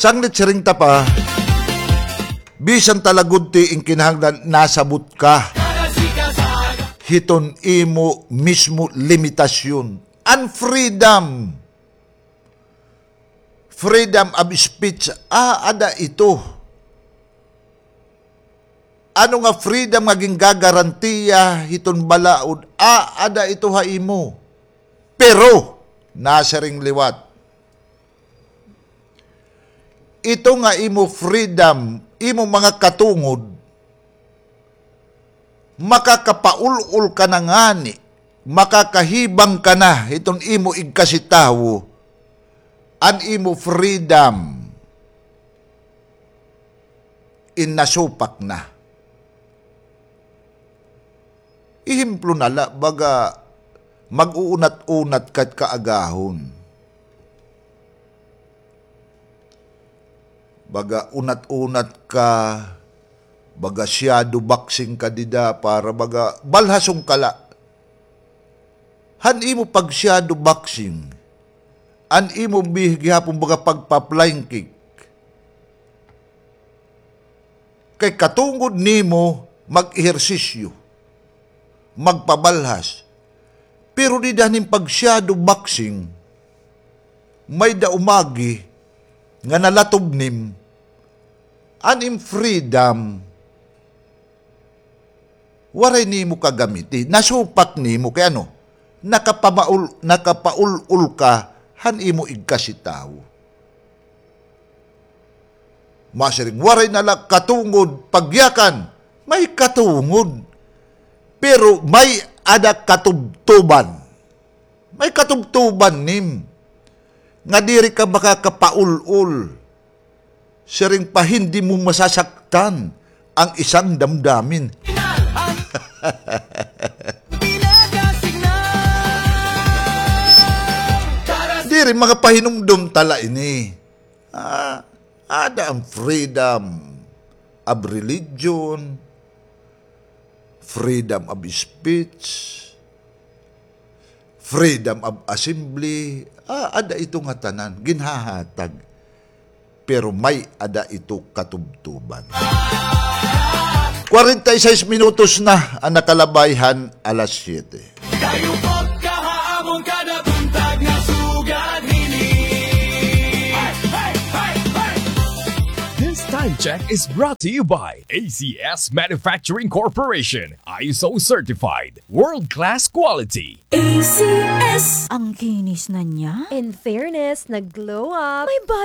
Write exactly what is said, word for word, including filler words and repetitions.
Tanglit siring ta pa, bisan ta la gud ti in kinahanglan nasabot ka hiton imo mismo limitasyon. An freedom, freedom of speech, aada ito. Ano nga freedom nga gingagarantiya hiton balaod, aada ito ha imo. Pero, nasiring liwat, ito nga imo freedom, imo mga katungod, makakapaul-ol ka na ngani, makakahibang ka na hiton imo igkasitawo, an imo freedom in nasupak na. Ehemplo na la, baga mag-uunat-unat ka kaagahon. Baga unat-unat ka, baga shadow boxing ka dida para baga balhason ka la. Han imo pag-shadow boxing, an imo bi gihapon baga pagpa-flying kick. Kay katungod nimo mag-ehersisyo, magpabalhas. Pero dida han im pag-shadow boxing, may-ada umagi nga nalatob nim, an im freedom, waray nimo kagamiti. Nasupak nimo kay ano? Nakapamaul-, nakapaul-ol ka han imo igkasitawo. Masiring, waray na la katungod pagyakan. May katungod. Pero may-ada katubtuban. May katubtuban nim. Nga diri ka makakapaul-ol. Siring pa, hindi mo masasaktan ang isang damdamin. Diri, mga pahinumdom ta la ini. Ah, ada ang freedom of religion, freedom of speech, freedom of assembly, ah, ada ito nga tanan, ginhahatag. Pero may-ada ito katubtuban. Kwarenta y seis minutos na an nakalabay han alas siyete. Kayo po kaha amon kada buntag nga sugad hini. This time check is brought to you by A C S Manufacturing Corporation, I S O certified, world-class quality. A C S. Ang kinis na niya. In fairness, nag-glow up. May